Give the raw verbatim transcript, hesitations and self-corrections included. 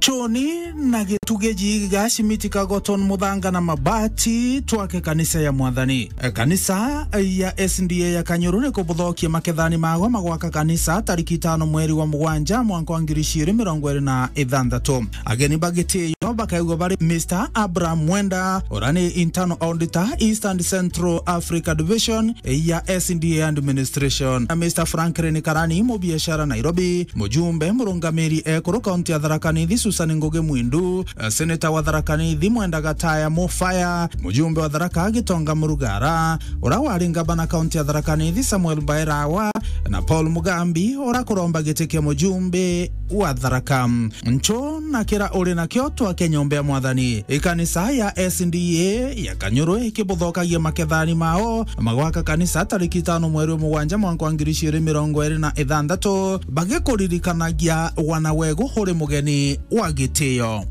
Choni na gitugi jiga, simiti, kagoton, muthanga na mabati, twake kanisa ya Mwathani. Kanisa ya S D A ya Kanyuru ni kubuthokia makethani magwa magwaka kanisa tariki itano mweri wa mugwanja mwanka wa ngiri ciiri mirongo iri na ithanthatu. Ageni ba gitio bakaigwa bari Mister Abraham Mwenda, uria ni internal auditor, East and Central Africa Division ya S D A Administration, na Mister Franklin Karani, mubiashara Nairobi, mujumbe murungamiri ekuru kaunti ya Tharaka Nithi Susan Ngugi Mwindu, eh, seneta wa Tharaka Nithi Mwenda Gataya Mufaya, mujumbe wa Tharaka Gitonga Murugara, uria wari ngavana kaunti ya Tharaka Nithi Samuel Mbairawa, na Paul Mugambi, uria kuromba giti kia mujumbe wa Tharaka. Ncho na kira uri nakio twake nyomba ya Mwathani. Ikanisa ya S D A ya Kanyuru ikibuthokagia makethani mao magwaka kanisa tariki itano mweri wa mugwanja mwanka wa ngiri ciiri mirongo iri na ithanthatu, bagikuririkanagia wana wegu uri mugeni wa gitio.